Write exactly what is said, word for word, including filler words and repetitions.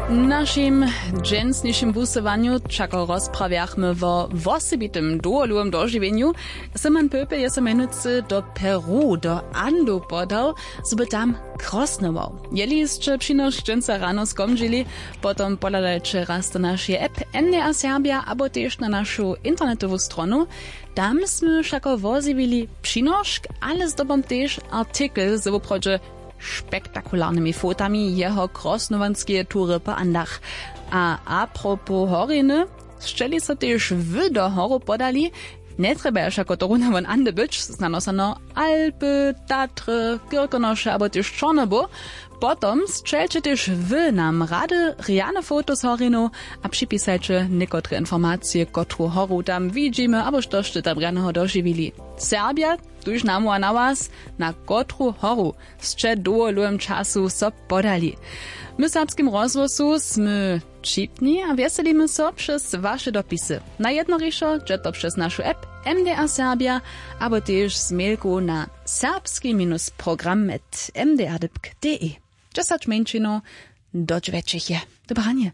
W našim dźensnišim wusyłanju wšako rozprawjachmy wo wosebitym dołholowym dožiwjenju. Simon Pöpel je so mjenujcy do Peru do Andow podał, zo by tam krosnował. Jeli sće přinošk dźensa rano skomdźili, potom pohladajće raz do našeje app M D A Serbia abo tež na našu internetowu stronu. Tam smy wšako wozjewili přinošk, ale zdobom tež artikel z woprawdźe spektakularnymi fotami jeho krosnowanskeje tury po Andach. A apropos horiny, sćeli so tež wy do horu podali, njetrjebaja wšako to runawon Ande być, znano sano Alpy, Tatry, Kyrkonoše abo tež Čornobu. Potom sćelće tež wy nam rady rjane foto z horinow a připisajće někotre informacije, kotru horu tam widźimy abo što sće tam rjaneho dožiwili. Serbja, tuž namołwa na was, na kotru horu sće w dołholowym času so podali. My w Serbskim rozhłosu smy wćipni a wjeselimy so přez waše dopisy. Najjednorišo dźe to přez našu app M D A Serbia abo tež z mailku na serbski minus program at M D A dypk D E. Dźesać mjeńšinow do dźwjećich je. Dobre ranje.